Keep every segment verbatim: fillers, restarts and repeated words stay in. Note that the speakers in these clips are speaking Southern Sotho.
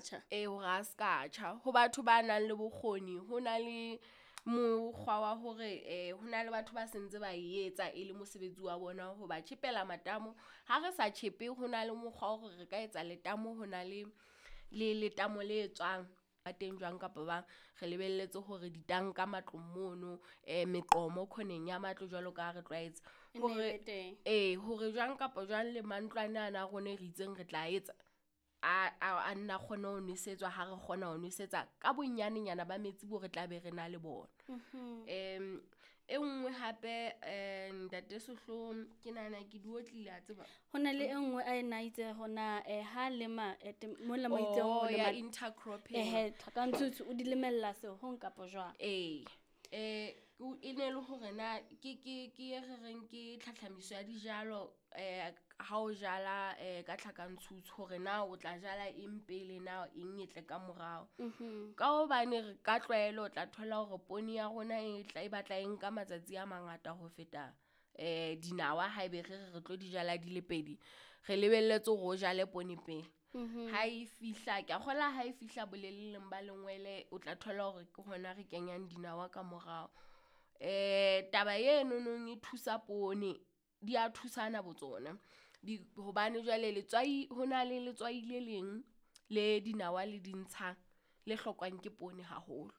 tjha. Ee, hore a ska tjha. Ho batho ba nang le bokgoni, ho na le mokgwa wa hore eh ho na le batho ba sentse ba e etsa e le mosebetsi wa bona ho ba tjhepela matamo. Ha re sa tjhepe, ho na le mokgwa wa hore re ka etsa letamo, ho na le le letamo le tswang ba teng jwang kapa bang. Re lebelletse hore ditanka matlong mono, eh meqomo khoneng ya matlo jwalo ka ha re tlwaetse. E nne e Hore be teng. ee, hore jwang kapa jwang le mantlwane ana a rona e re itseng re tla etsa a a a nna kgone ho nwesetswa ha re kgona ho nwesetsa ka bonyanenyana ba metsi bo re tla be re na le bona. Um e nngwe hape um ntate Sehloho, ke nahana ke di otlile a tseba. Ho na le e nngwe a ena itse hona eh ha lema eh, tem- mola mo itseng Oh, ho ya lema intercropping. ehe tlhakantshutsu o di lemella sehong kapa jwang? Ee, eh o e ne le hore na ke ke ke e re reng ke tlhatlhamiso ya dijalo eh ha o jala eh ka tlhakantshutsu hore na o tla jala eng pele na eng e tle ka morao. Ka hobane re ka tlwaelo o tla thola hore poone ya rona e tla e batla e nka matsatsi a mangata ho feta eh dinawa haebe re re re tlo di jala di le pedi. Re lebelletse hore o jale poone pele. Ha e fihla, ke a kgolwa ha e fihla boleleleng ba lengwele, o tla thola hore ke hona re kenyang dinawa ka morao. Eh taba eno nong e thusa poone, di a thusana botsona. Di hobane jwale letswai, ho na le letswai le leng le dinawa le di ntshang le hlokwang ke poone haholo.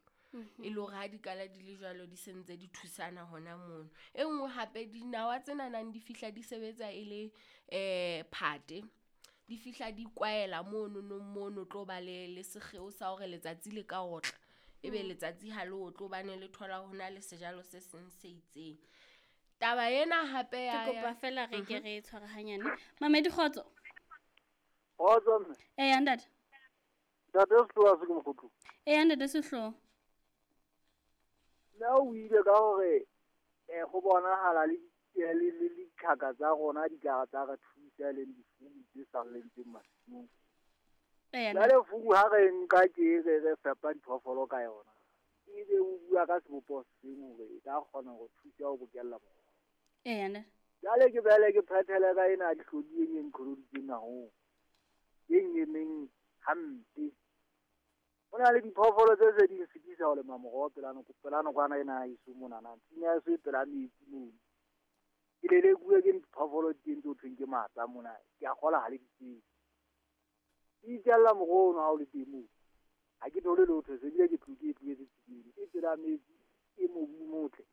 E le hore ha di kala di le jwalo di sentse di thusana hona mono. E nngwe hape dinawa tsena nang di fihla di sebetsa e le eh phate. Di fihla di kwaela mono nong mono tlo ba le le sekgeo sa hore letsatsi le ka otla. Ebe letsatsi ha le otle hobane le thola ho na le sejalo se seng se itseng. Taba ena hape Ke ya kopa ya fela re ke re tshware hanyane. Mamedi kgotso. Kgotso mme. Eya ntate. Ntate Sehloho a se ke mokgothu. Eya ntate Sehloho. Nna o ile ka hore eh go bonahala le le le le ditlhaka tsa rona di ka tsa re thusa le difugu tse salletseng masimong. Eya Jwale fugu ha re nka ke re re fepa diphoofolo ka yona. Ebe o bua ka sebopeho seng hore e ka kgona ho thusa ho bokella moroho. Eya ntate. Jwale ke bele ke phethele ka ena dihlodi e nqholoditseng haholo. E ngemeng hampe. Ho na le diphoofolo tse se di sitisa ho lema moroho pela noko, pela nokwana ena ya heso monana. Tshimo ya heso e pela metsi mono. Ke lelekuwe ke diphoofolo teng tse ho thweng ke matsa mona. Ke a kgola ha le di tsebe. Di itjella moroho ono ha o le teng moo. Ha ke thole letho, se bile ke tlo ke tlohetse tseleng. E pela metsi, e mobu o motle.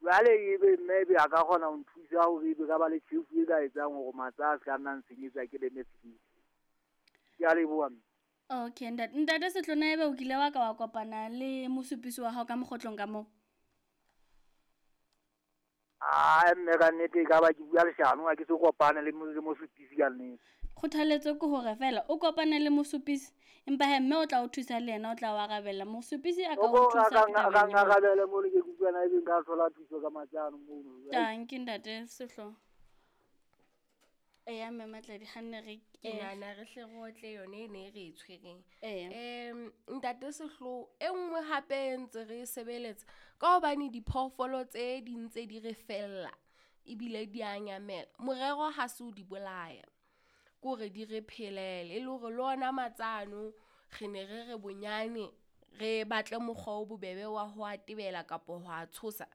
Jwale ebe mme ebe a ka kgona ho nthusa hore ebe ka ba le tjhefu e ka etsang hore matsa a se ka nna nsenyetsa ke leme tshimo. Ke a leboha mme. Okay, ntate. Ntate Sehloho, na ebe o kile wa ka wa kopana le mosupisi wa hao ka mokgotlong ka moo? Ah, mme ka nnete e ka ba ke bua leshano, ha ke so kopane le mo-, le mosupisi ka nnete. Kgothaletso ke hore fela o kopane le mosupisi, empa he mme o tla o thusa le yena, o tla o arabela. Mosupisi a ka o O thusa ka ke nka- tabeng ka eo. nkarabele mono ke utlwana ebe nka thola thuso ka matsano mono. Tanki ntate Sehloho. Eya mme Matladi, ha nne re Ke eh, nahana re hle re otle yone e ne e re e tshwereng. Eya. Em ntate Sehloho, e nngwe hape e ntse re e sebeletsa ka hobane diphoofolo tse di ntse di re fella ebile di a nyamela. Morero ha se o di bolaya, ke hore di re phelele. E le hore le ona matsano re ne re re bonyane re batle mokgwa o bobebe wa ho a tebela kapa ho a tshosa.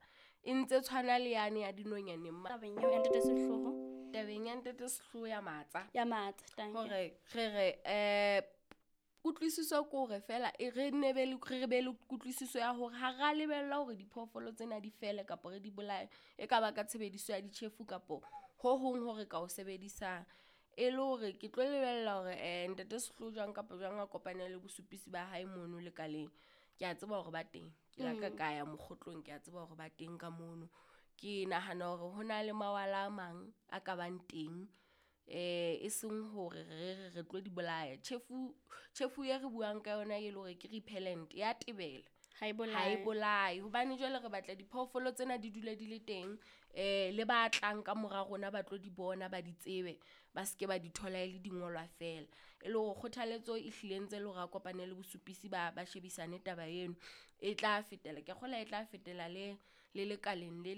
E ntse tshwana le yane ya dinonyaneng ma- Tabeng eo ya ntate Sehloho. Tabeng ya ntate Sehloho ya matsa. Ya matsa, tanki. Hore re re, eh, kutlwisiso ke hore fela e re nne be le, re be le kutlwisiso ya hore ha ra lebella hore diphoofolo tsena di fele kapa re di bolaye. E ka ba ka tshebediso ya ditjhefu kapo ho hong hore ka o sebedisang. E le hore ke tlo lebella hore, eh, ntate Sehloho jwang kapa jwang a kopane le bosupisi ba hae mono lekaleng. Ke a tseba hore ba teng. Ke la ka Mm. ka ya mokgotlong, ke a tseba hore ba teng ka mono. Ke nahana hore ho na le mawala a mang a ka bang teng, eh, e seng hore re re re tlo di bolaya. Tjhefu, tjhefu e re buang ka yona e le hore ke repellent, ya tebela. Ha e Ha e bolaye. bolaye. Hobane jwale re batla diphoofolo tsena di dule di le teng, eh, le ba tlang ka mora rona ba tlo di bona, ba di tsebe, ba seke ba di thola e le dingolwa fela. E le hore kgothaletso e hlile ntse le hore a kopane le bosupisi ba, ba shebisane taba eno. E tla fetela, ke a kgolwa e tla fetela le, le lekaleng le le